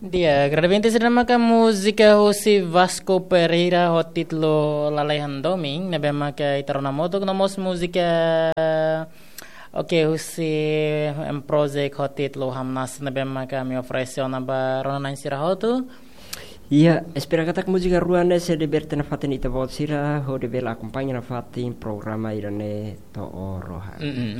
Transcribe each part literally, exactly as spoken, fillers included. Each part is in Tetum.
Di'ak, agradamenti sira maka múzika husi Vasco Pereira ho títulu Lalehan Domin, ne'ebé maka ita rona hamutuk no mós múzika, oke, husi M Project ho títulu Hamnasa, ne'ebé maka ami oferese ona ba rona-na'in sira hotu. Iya, espera katak múzika rua ne'e sei divierte nafatin ita-boot sira, hodi bele akompaña nafatin programa ida-ne'e to'o rohan. Mm-mm.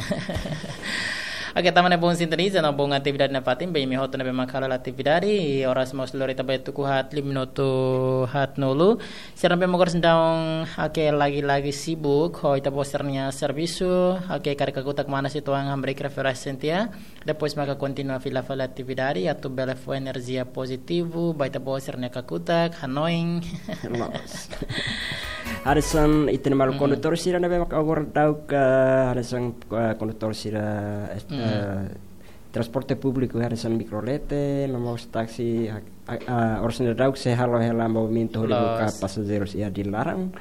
Oke, tanba ne'e bom sintoniza no bom atividade nafatin, ba imi hotu ne'ebé maka halo atividade, i oras mós lori ita ba tuku haat, lima minutu haatnulu. Sira ne'ebé maka oras daudaun, oke, lagi-lagi sibuk ho ita-boot sira-nia servisu, oke, karik kakutak mana situang hamriik referénsia. Depois maka kontinua fila fali atividade, atu bele fó enerjia pozitivu ba ita-boot sira-nia kakutak, hanoin. Loos. Hanesan ita-nia maluk, mm, kondutór sira ne'ebé maka agora daudaun, hanesan, eh, kondutór sira, eh, mm, eh, transporte públiku, hanesan mikrolete, no mós táksi, a, a, oras daudaun sei halo hela movimentu hodi, loos, buka pasajeirus iha di laran.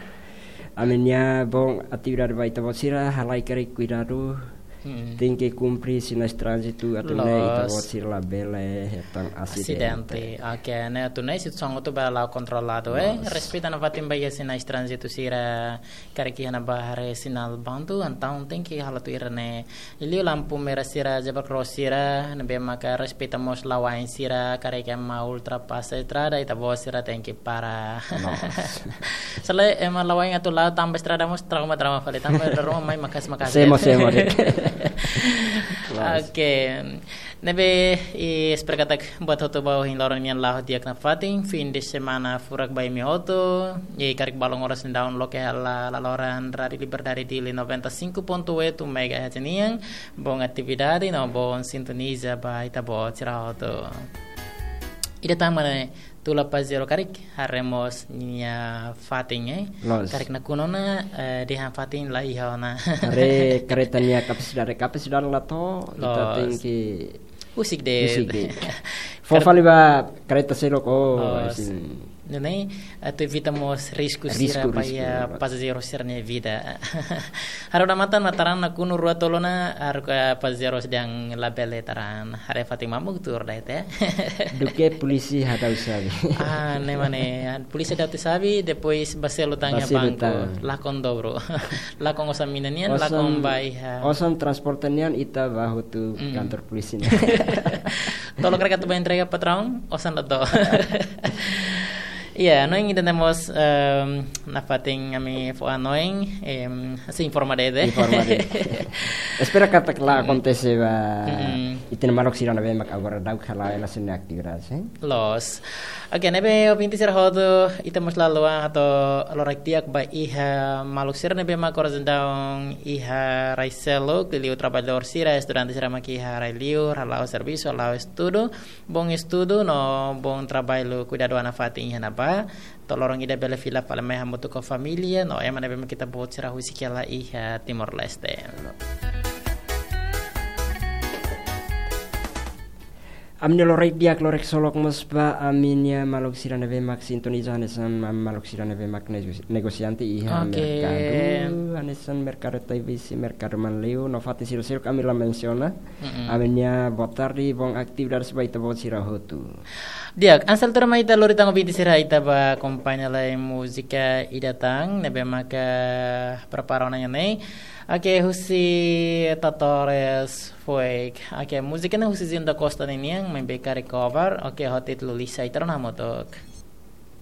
Ami-nia bom atividade ba ita-boot sira, halai karik kuidadu. Hmm. Tenke kumpre sinais tránzitu atu nune'e, loos, ita-boot sira labele hetan asidente. Asidente. Oke, ne'e atu nune'e situasaun hotu bele la'o kontroladu, eh. Loos. Respeita nafatin ba iha sinais tránzitu sira, karik iha ne'ebá haree sinál bandu, entaun tenke halo tuir ne'e. Liuliu lampu merah sira, zebra cross sira, ne'ebé maka respeita mós la'o ain sira, karik ema ultrapasa estrada, ita-boot sira tenke para. Loos. Se lae ema la'o ain atu la'o tanba estrada mós trauma, trauma fali, tanba ruma mai maka'as, maka'as. Semo, semo, dek. Loos. Oke. Ne'ebé, i espera katak buat hotu ba ohin loron nian la'o di'ak nafatin, fim de semana furak ba imi hotu, i karik balun oras daudaun loke hela laloran Rádio Liberdade Dili noventa e cinco ponto oito megahertz nian, bom atividade, no bom sintoniza ba ita-boot sira hotu. Ida tan mane tula pazero karik, haree mós nia fatin, eh. Loos. Karik nakonu ona, eh, dehan fatin la iha ona. Haree kareta nia kapasidade, kapasidade la to'o, ita, loos, tenke husik de'it. Husik de'it. Fó, kar- fali ba kareta seluk, oh, loos. Sin. Nune'e, atu evita mós risku, risku sira ba, risku, iha, loos, pazero sira-nia vida. Haree ona matan, matan nakonu rua tolu ona, haruka pazero dehan labele, taran. Haree fatin mamuk tuur de'it, eh. Duké polísia hadau xave. Ah, ne'e mane, polísia hadau xave, depois ba selu tan iha, ba selu banku, tan. Lakon dobru. Lakon osan mina nian, osan, lakon ba iha, osan transporte nian, ita ba hotu, mm, kantor polísia nian. Tolok reka tu ba entrega patraun, osan la to'o. Iya, no, ida-ne'e mós, em, nafatin ami fó hanoin, em, sei informa de'it, eh. Informa de'it. Espera katak la, mm, akontese ba, mm, ita-nia maluk sira ne'ebé mak agora daudaun hala'o hela sira-nia atividade, eh. Loos. Oke, ne'ebé ouvinte sira hotu, ita mós la haluha atu halo loron di'ak ba iha maluk sira ne'ebé mak agora daudaun iha rai seluk, liuliu traballadór sira, estudante sira mak iha rai liur, hala'o servisu, hala'o estudu, bom estudu, no bom traballu, kuidadu an nafatin iha ne'ebá. To'o loron ida bele fila fali mai hamutuk ho família, no ema ne'ebé mak ita-boot sira husik hela iha Timor-Leste. Ami-nia loron di'ak, loron solok mós ba ami-nia maluk sira ne'ebé mak sintoniza hanesan maluk sira ne'ebé mak nego-, negosiante iha, oke, merkadu, hanesan merkadu Taibesi, merkadu Manleu, no fatin seluk-seluk ami la mensiona. Mm-mm. Ami-nia boa tarde, bom atividade ba ita-boot sira hotu. Di'ak, hanesan tuirmai ita lori tan ouvinte sira, ita ba akompaña lai múzika ida tan, ne'ebé maka prepara ona iha ne'e. Oke, husi Tatores Foek. Oke, múzika ne'e husi Zinho da Costa ninian, maibé karik cover. Oke, ho títulu Lisa, ita rona hamutuk.